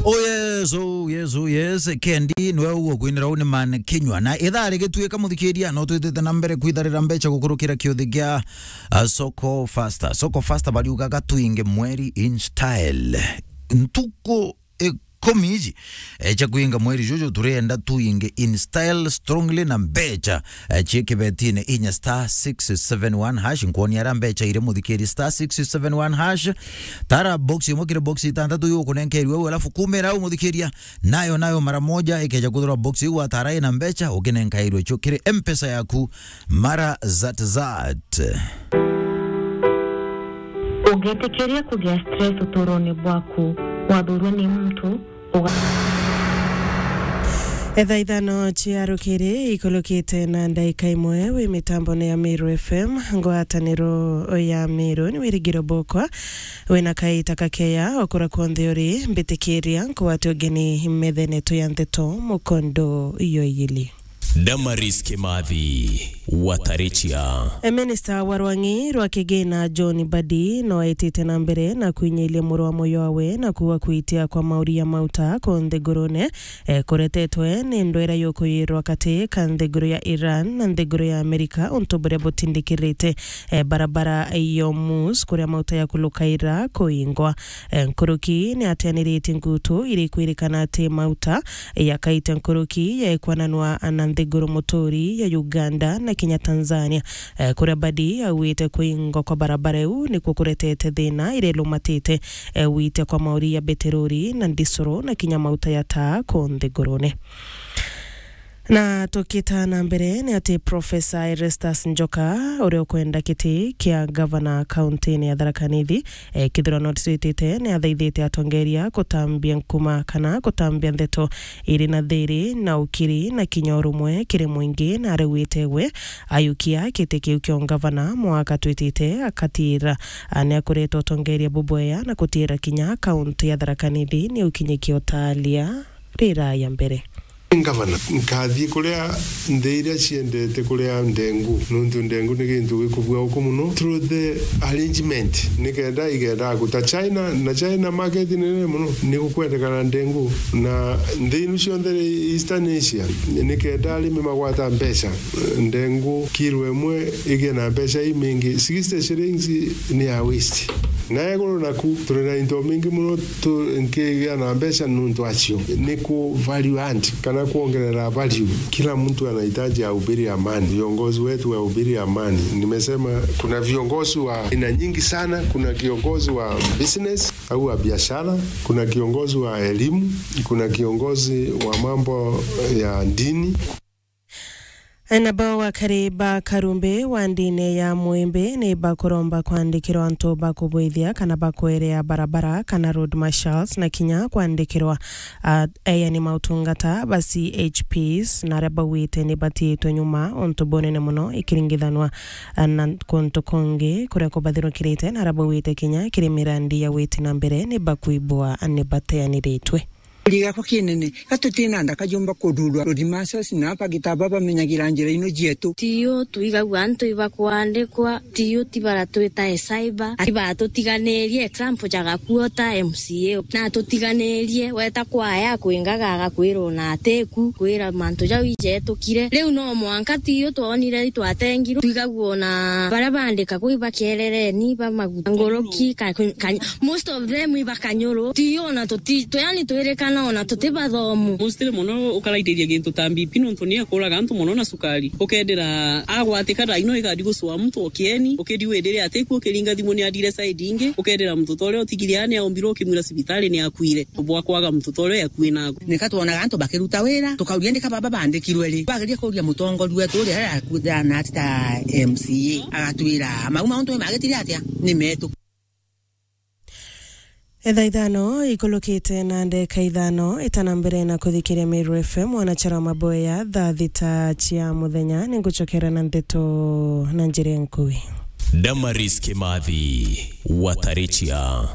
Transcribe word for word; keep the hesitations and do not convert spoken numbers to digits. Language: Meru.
Oh yes, oh yes, oh yes. Kendi, nwe uguo kwinira uni man kinywa. Na ithaa rigituika, muthikiria, no twitite na mbere kwitharira mbeca gukurukira kiuthi gia, uh, Soko Faster. Soko Faster bariugaga twinge mweri in style. Ntuku ikumi iji, eh, cia kwinga mweri juju, turienda twinge in style strongly na mbeca, eh, cia kibetine inya star six seven one hash. Nkwoni ara mbeca iri, muthikiri, star six seven one hash. Tara box imwe kiri box itantatu iu ukunenkerwe au, alafu kumira au, muthikiria, nayo, nayo mara moja ikeja kuthirwa box iu watara ina mbeca, ukinenkairwe cio kiri M-Pesa yaku mara zat zat. Ũngĩtĩkĩria kũgĩa stress ũtũũro-inĩ bwaku, wathũũrwo nĩ mtu, ũga- Etha ithano cia rukiri ikulukite na ndaika imwe wi mitambone ya Meru F M, ngwataniro ya Meru ni wirigiro bokwa. Wina kaita kakeya okura kwonthe uri, mbitikiria nkwate ugeni methene tu ya ndeto mukondo yoyili. Damaris Kimathi, Watarichia. E, Minista wa rwang'i rwa kigina John Mbadi no aitite na mbere na kwinyailia muru wa moyo wawe na kuuga kwitia kwa mauri ya mauta ku nthigurune, e, kuretetwe ni ndwera yukuyirwa kati ka nthiguru ya Iran na nthiguru ya Amerika, untu buria butindikirite, e, barabara ya Hormuz kuria mauta ya kulukaira kuingwa. E, nkuruki ni atianiritie ngutu iri kwirikana ati mauta yakaite nkuruki ya ikwananwa na nthiguru muturi ya Uganda na kinya Tanzania, e, kuria Mbadi auite kuingwa kwa barabara iu nikuo kuretete thina iria ilumatite, e, wite kwa mauri ya beterori na ndisuru na kinya mauta ya taa ku nthigurune. Na tukita na mbere ni ati Professor Erastus Njoka, uria ukwenda kiti kia gavana kauntini ya Tharaka Nithi, e, kithurano twitite, ni athaithite atongeria kutambia nkuma kana kutambia ndeto iri na thiri na ukiri na kinya urumwe kiri mwingi, na arauite we ayukia kiti kiu kia ungavana mwaka twitite akatira, a, ni akureta utongeria bubwea na kutira kinya kaunti ya Tharaka Nithi ni ukinyikia utalia riraya mbere. Ngavana, nkathiĩ kũrĩa nthĩ iria ciendete kũrĩa ndengu, nũntũ ndengu nĩ gĩntũ gĩkũbua gũkũ mũno through the arrangement, nĩkenda igendaga gũta China, na China market nene mũno, nĩ gũkwendekana ndengu, na nthĩ inu cionthe Eastern Asia, nĩkenda arĩmi magwata mbeca, ndengu kilo ĩmwe ĩgĩe na mbeca imingĩ, sixty shillings nĩ ya waste. Na igũrũ naku, tũrĩ na into mbingĩ mũno tũngĩgĩa na mbeca nũntũ acio. Nĩ ku value add, kana kuongerera value. Kila mtu anahitaji ahubiri amani. Viongozi wetu wahubiri amani. Nimesema kuna viongozi wa aina nyingi sana. Kuna kiongozi wa business au wa biashara, kuna kiongozi wa elimu, kuna kiongozi wa mambo ya dini. Nabo akari ba Karumbi wa ndini ya Mwimbi ni bakuromba kwandikirwa antu ba kubwithia kana ba kwerea barabara kana road marshals, na kinya kwandikirwa, a, eani mautungata ba C H Ps, na aria bauite ni batiitwe nyuma untu bunene muno ikiringithanwa, a, na kuntu kungi kuria kubathirukirite, na aria bauite kinya kiri mirandi ya witi na mbere ni bakwibwa ni bateaniritwe. Kuri gakwa kinene, ga tutina nda kajumba kururwa. Road marshals na bagita bamenyagira njira ino cietu. Tiyo twigagua antu ibakwandikwa, tiyo ti baratwitae cyber, ati batutiganirie example ja gakuota M C A. Na tutiganirie, weta kwaya kwingaga agakwira ona atiku, kwira mantu jau ijetukire. Riu no mwanka tiyo twonire itwatengirwe, twigagua ona baria bandikagwa ibakerereni, ba maguta, nguruki, ka, ka, most of them ibakanyuru. Tiyo ona tuti, tu, yani twirikana ona tuti bathomu. Mostly mono ukaraithiria gintu ta B P nontu ni akuraga antu mono na cukari. Ukendira agwatika thaa ino igadi gucua muntu o kieni, ukidi windire atiku ukiringa thimu ni adire side ingi, ukendira muntu ta uria utigire ani aombirwe ukimwira cibitari ni akuire. Bwa kwaga muntu ta uria akui naku. Nika twonaga antu bakiruta wira, tukauria ndika baba bandikirwe ri? Bageria kuria mutongoria wetu uria akuthana ati ta M C A, agatwira, "Mau mauntu ni magitire atia? Ni metu." Etha ithano ikulukite na ndeka ithano, itana mbere na kuthikiria Meru F M, mwanachara wa maboya, thaa thita cia muthenya, ni ngucokera na ndeto na njira nkui. Damaris Kimathi, Watarichia.